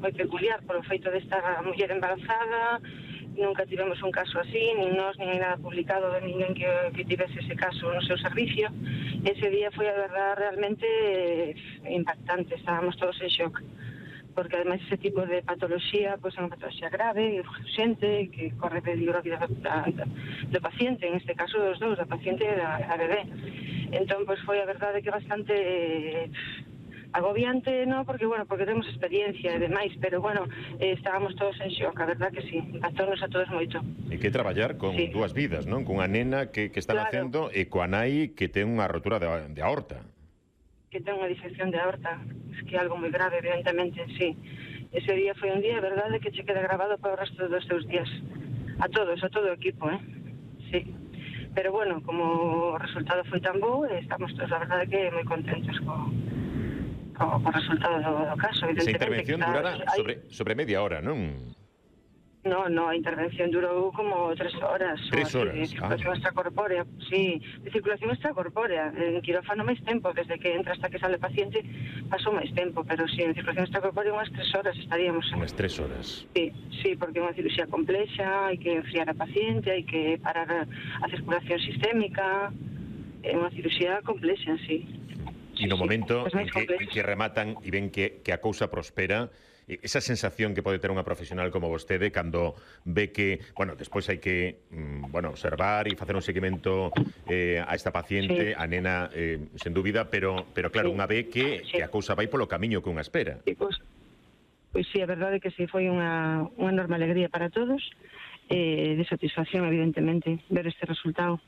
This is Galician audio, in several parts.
moi peculiar polo feito de estar a muller embarazada. Nunca tivemos un caso así, nin nós, nin nada publicado de ninguén que tivese ese caso no seu servicio. Ese día foi, a verdad, realmente impactante, estábamos todos en shock, porque ademais ese tipo de patoloxía pois é unha patoloxía grave, urgente, que corre peligro a vida do paciente, en este caso dos dous, da paciente e da bebé. Entón, pois foi a verdade que bastante agobiante, no, porque temos experiencia e demais, pero estábamos todos en shock, a verdad que sí, impactounos a todos moito. E que traballar con dúas vidas, non? Cunha nena que está nacendo e coa nai que ten unha rotura de aorta. Que ten unha disección de aorta, es que é algo moi grave, evidentemente, sí. Ese día foi un día, verdade, que che queda grabado para o resto dos teus días. A todo o equipo, sí. Pero como o resultado foi tan bo, estamos todos, a verdade, que moi contentos co resultado do caso, evidentemente. Esa intervención durará sobre media hora, non? No, a intervención durou como 3 horas. 3 horas, de circulación extracorpórea, sí, de circulación extracorpórea. En quirófano máis tempo, desde que entra hasta que sale o paciente, pasou máis tempo, pero sí, en circulación extracorpórea unhas 3 horas estaríamos. Unhas 3 horas. Sí, porque é unha cirugía complexa, hai que enfriar a paciente, hai que parar a circulación sistémica, é unha cirugía complexa, sí. E no momento en que rematan e ven que a cousa prospera, esa sensación que pode ter unha profesional como vostede cando ve que, despois hai que observar e facer un seguimento a esta paciente, a nena, sen dúbida, pero claro, unha ve que a cousa vai polo camiño que unha espera. Pois sí, a verdade é que sí, foi unha enorme alegría para todos, de satisfacción, evidentemente, ver este resultado.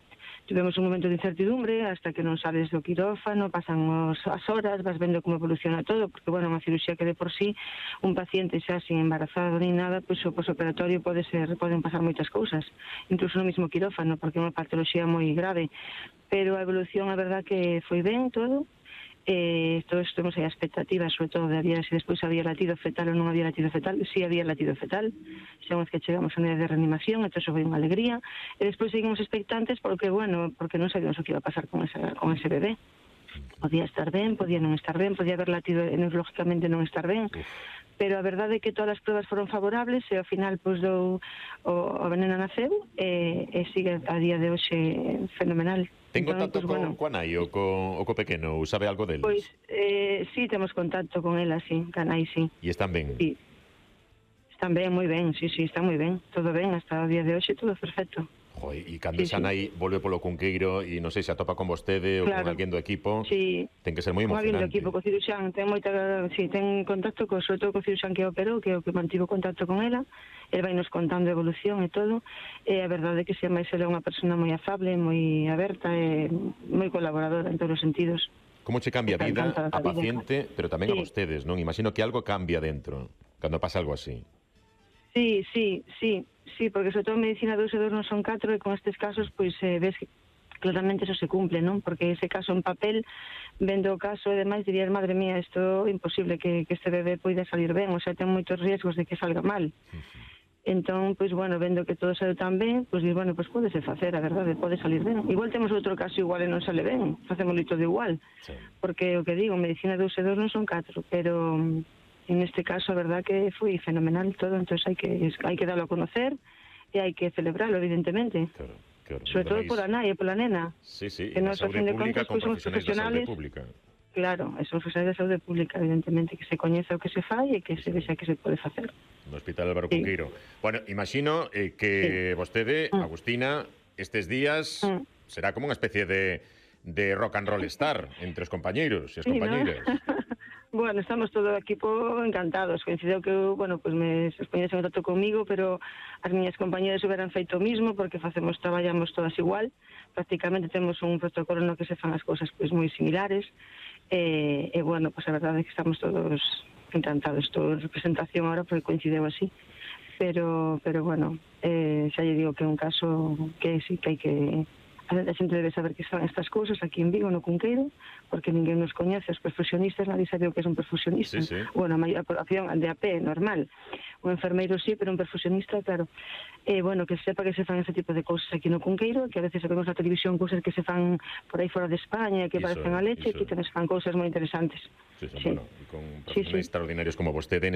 Tivemos un momento de incertidumbre hasta que non sales do quirófano, pasan as horas, vas vendo como evoluciona todo, porque, unha cirugía que de por sí, un paciente xa sin embarazado ni nada, pois o posoperatorio poden pasar moitas cousas, incluso no mismo quirófano, porque é unha patoloxía moi grave, pero a evolución, a verdad que foi ben todo. Todos temos aí a expectativa, sobre todo, de se despois había latido fetal ou non había latido fetal. Si había latido fetal, xa unha vez que chegamos a unidade de reanimación, entón foi unha alegría, e despois seguimos expectantes porque non sabíamos o que iba a pasar con ese bebé. Podía estar ben, podía non estar ben, podía haber latido neurológicamente non estar ben, pero a verdade é que todas as pruebas foron favorables e ao final o veneno naceu e sigue a día de hoxe fenomenal. Ten contacto coa nai ou co pequeno? Ou sabe algo del? Pois, sí, temos contacto con ela, sí, ca nai, sí. E están ben? Sí. Están ben, moi ben, sí, están moi ben. Todo ben, hasta o día de hoxe, todo perfecto. E cando esa nai volve polo Cunqueiro e non sei se atopa con vostede ou con alguén do equipo, ten que ser moi emocionante. Alguén do equipo, co ciruxán, ten contacto sobre todo co ciruxán que operou, que é o que mantivo contacto con ela. El vai nos contando a evolución e todo, e a verdade é que se máis ela é unha persona moi afable, moi aberta e moi colaboradora en todos os sentidos. Como che cambia a vida a paciente, pero tamén a vostedes, non? Imagino que algo cambia dentro cando pasa algo así. Sí, porque sobre todo en medicina 2 e 2 non son 4 e con estes casos pois ves que claramente eso se cumple, non? Porque ese caso en papel, vendo o caso e demais, dirías, madre mía, isto é imposible que este bebé poida salir ben, o sea, ten moitos riesgos de que salga mal. Entón, pois, vendo que todo saiu tan ben, pois, pódese facer, a verdade, pode salir ben. Igual temos outro caso igual e non sale ben, facémoslo todo igual. Porque, o que digo, medicina 2 e 2 non son 4, pero en este caso, a verdad que foi fenomenal todo, entón hai que darlo a conocer e hai que celebrarlo, evidentemente. Claro. Sobre todo pola nai e pola nena. Sí, e na saúde pública con profesionais da saúde pública. Claro, son profesionais da saúde pública, evidentemente, que se coñeza o que se fai e que se vexa que se pode facer. No Hospital Álvaro Cunqueiro. Imagino que vostede, Agustina, estes días será como unha especie de rock and roll star entre os compañeiros e as compañeiras. Estamos todo o equipo encantados. Coincideu que, me poñese en contacto comigo, pero as miñas compañeras hubieran feito o mismo, porque traballamos todas igual. Prácticamente temos un protocolo no que se fan as cousas moi similares. A verdade é que estamos todos encantados. Toda representación ahora porque coincideu así. Pero xa lle digo que é un caso que sí que hai que... A xente debe saber que están estas cousas aquí en Vigo, no Cunqueiro, porque ninguén nos coñece, os perfusionistas, nadie sabe o que é un perfusionista. A maior población de a pé, normal. Un enfermeiro sí, pero un perfusionista, claro. Que sepa que se fan ese tipo de cousas aquí no Cunqueiro, que a veces vemos na televisión cousas que se fan por aí fora de España, que parecen a leche, que tamén se fan cousas moi interesantes. E con profesionais extraordinarios como vostede,